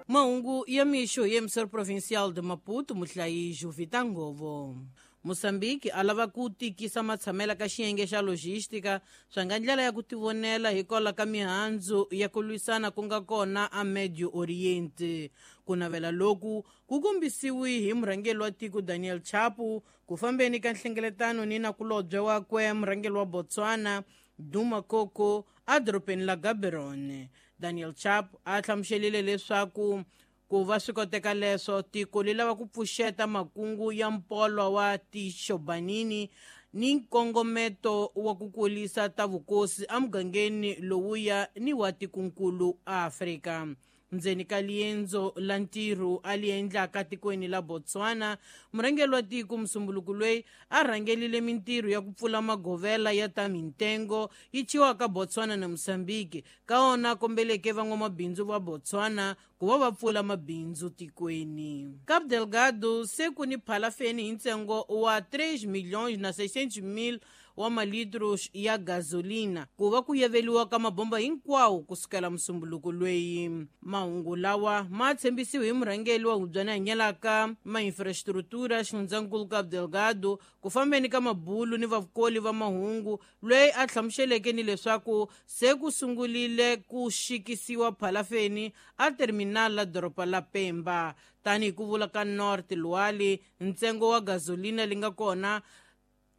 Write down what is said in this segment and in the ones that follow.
Mahungu ya mixo hi emissor provincial de Maputo, muhlayi Juvita Ngovo. Mozambique a lava ku tikisa matshamela ka xiyenge xa logistica swa nga ndlela ya ku tivonela hikwalaho ka mihandzu ya ku lwisana ku nga kona a Medio Oriente. Ku navela loku ku kombisiwi hi murhangeri wa tiko Daniel Chapo ku fambeni ka nhlengeletano ni nakulobye wakwe murhangeri wa Botswana Duma Koko edorobeni la Gaborone. Daniel Chapo a hlamuselile leswaku ku va swi koteka leswo tiko li lava ku pfuxeta makungu ya mpolwa wa Tishobanini ni nkongometo wa ku kulisa ta vukosi emugangeni lowuya ni wa tikonkulu Afrika. Ndzeni ka liendzo la ntirho a li endlaka tikweni la Botswana, murhangeri wa tiko musumbuluku loyi a rhangelile mintirho ya ku pfula magovela ya ta mintengo yi chiwaka Botswana na Mozambique, ka wona kombeleke van'wamabindzu va Botswana ku va va pfula mabindzu tikweni. Cabo Delgado se ku ni phalafeni hi ntsengo wa 3 milhões na 600 mil wa malitros ya gasolina ku va ku yeveliwa ka mabomba hinkwawo kusukela musumbuluko loyi. Mahungu lawa ma tshembisiwe hi murhangeri wa hubyana hanyelaka ma-infrastructura xifundzankulu Cabo Delgado ku fambeni ka mabulu ni vakoli va mahungu, loyi a hlamuseleke ni leswaku se ku sungulile ku xikisiwa phalafeni a terminal la doroba la Pemba. Tanihi ku vula ka North Luali, ntsengo wa gasolina li nga kona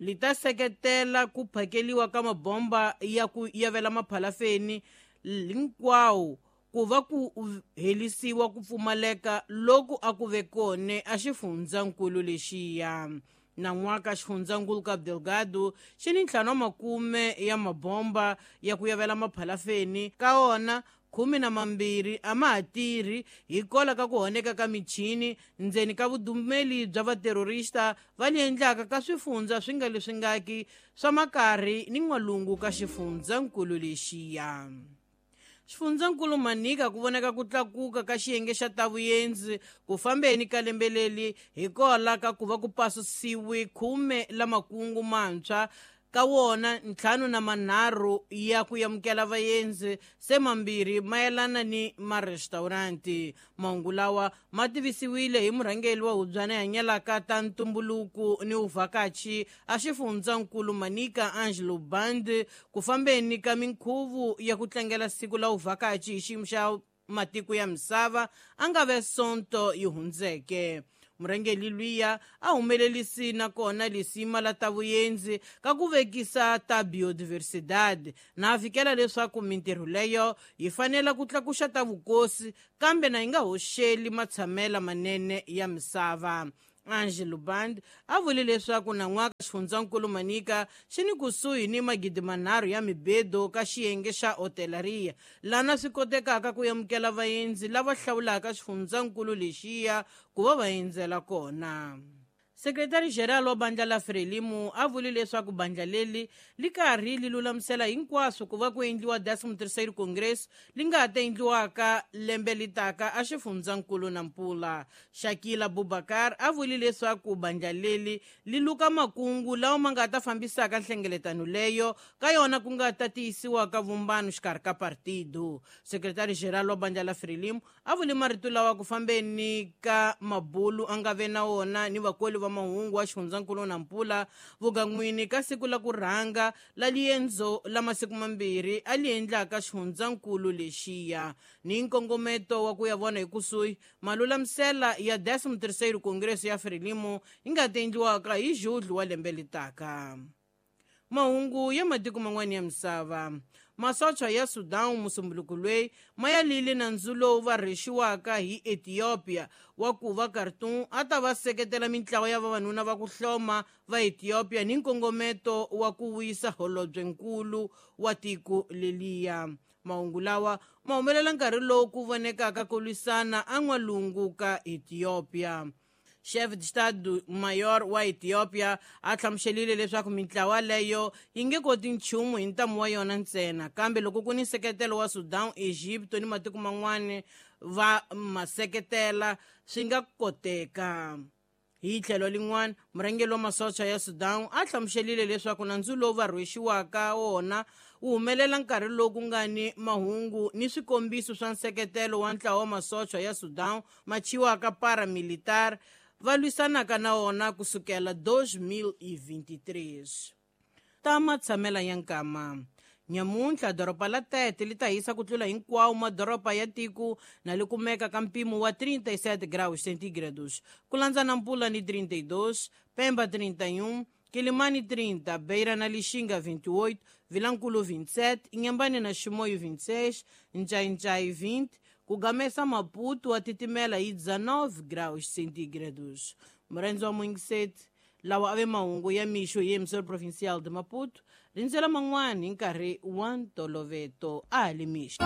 li ta seketela ku phakeliwa ka mabomba ya ku yavela maphalafeni hinkwawo ku va ku helisiwa ku pfumaleka loku a ku ve kone a xifundzankulu lexiya. Nan'waka xifundzankulu Cabo Delgado xi ni 50 ya mabomba ya ku yavela maphalafeni, ka wona 12 a ma ha tirhi hikwalaho ka ku honeka ka michini ndzeni ka vudumeli bya vaterorista va li endlaka ka swifundza swi nga leswi ngaki swa makarhi ni n'walungu ka xifundzankulu lexiya. Xifundzankulu Manica ku vonaka ku tlakuka ka xiyenge xa ta vuendzi ku fambeni ka lembe leri hikwalaho ka ku va ku pasisiwe 10 la makungu mantshwa, ka wona 53 ya ku amukela vaendzi, se 2 mayelana ni marestauranti. Mahungu lawa ma tivisiwile hi murhangeri wa hubyana hanyelaka ta ntumbuluko ni vuvhakachi a xifundzankulu Manica Angelo Band ku fambeni ka minkhuvo ya ku tlangela siku la vuvhakachi hi xiyimo xa matiko ya misava a nga ve Sonto yi hundzeke. Murhangeri luya a humelerisi nakona lisima la ta vuendzi ka ku vekisa ta biodiversidad na a fikela leswaku mintirho leyo yi fanele ku tlakuxa ta vukosi kambe na yi nga hoxeli matshamela manene ya misava. Angelo Band a vule leswaku nan'waka xifundzankulu Manica xi ni kusuhi ni 3,000 ya mibedo ka xiyenge xa hotelaria, lana swi kotekaka ku amukela vaendzi lava hlawulaka xifundzankulu lexiya ku va va endzela kona. Sekretari General wa bandla la Frelimo a vule leswaku bandla leri li karhi li lulamisela hinkwaswo ku va ku endliwa 13º Congress li nga ha ta endliwaka lembe li taka a xifundzankulu Nampula. Shakila Bubakar a vule leswaku bandla leri li luka makungu lawa ma nga ta fambisaka nhlengeletano leyo ka yona ku nga ta tiyisiwa ka vumbano xikarhi ka partido. Sekretari General wa bandla la Frelimo a vule marito lawa ku fambeni ka mabulu a nga ve na wona ni vakoli va mahungu wa xifundzankulu Nampula vugan'wini ka siku la ku rhanga la liendzo la masiku mambirhi a li endlaka xifundzankulu lexiya ni nkongometo wa ku ya vona hi kusuhi malulamisela ya 13º Congress ya Frelimo yi nga ta endliwaka hi Julho wa lembe litaka. Mahungu ya matiko man'wana ya misava. Masocha ya Sudan musumbuluko loyi ma ya lile nandzu lowu va rhexiwaka hi Ethiopia wa ku va Khartoum a ta va seketela mintlawa ya vavanuna va ku hloma va Ethiopia ni nkongometo wa ku wisa holobyenkulu wa tiko leliya. Mahungu lawa ma humelela nkarhi lowu ku vonekaka ku lwisana an'walungu ka Ethiopia. Chef de Estado Mayor wa Ethiopia a hlamuselile leswaku mintlawa leyo yi nge koti nchumu hi ntamu wa yona ntsena, kambe loko ku ni nseketelo wa Sudan, Egypt ni matiko man'wana va ma seketela swi nga koteka. Hi tlhelo lin'wana, murhangeri wa masocha ya Sudan a hlamuselile leswaku nandzu lowu va rhwexiwaka wona Wu humelela nkarhi lowu ku nga ni mahungu ni swikombiso swa nseketelo wa ntlawa wa masocha ya Sudan ma chiwaka paramilitar va lwisanaka na wona kusukela 2023. Ta matshamela ya nkama. Nyamuntlha doroba la Tete li ta hisa ku tlula hinkwawo madoroba ya tiko na li kumeka ka mpimo wa 37 graus centígrados, ku landza Nampula ni 32, Pemba 31, Quilimane 30, Beira na Lixinga 28, Vilankulo 27, Inhambane na Chimoio 26, Nchai-Nchai 20, kugamesa Maputo a titimela hi 19 graus centígrados. Murenzo wa Mwingiseti, lawa ave mahungu ya mixo hi emissor provincial de Maputo, rindzela man'wani hi nkarhi wa ntoloveto a ha le mixo.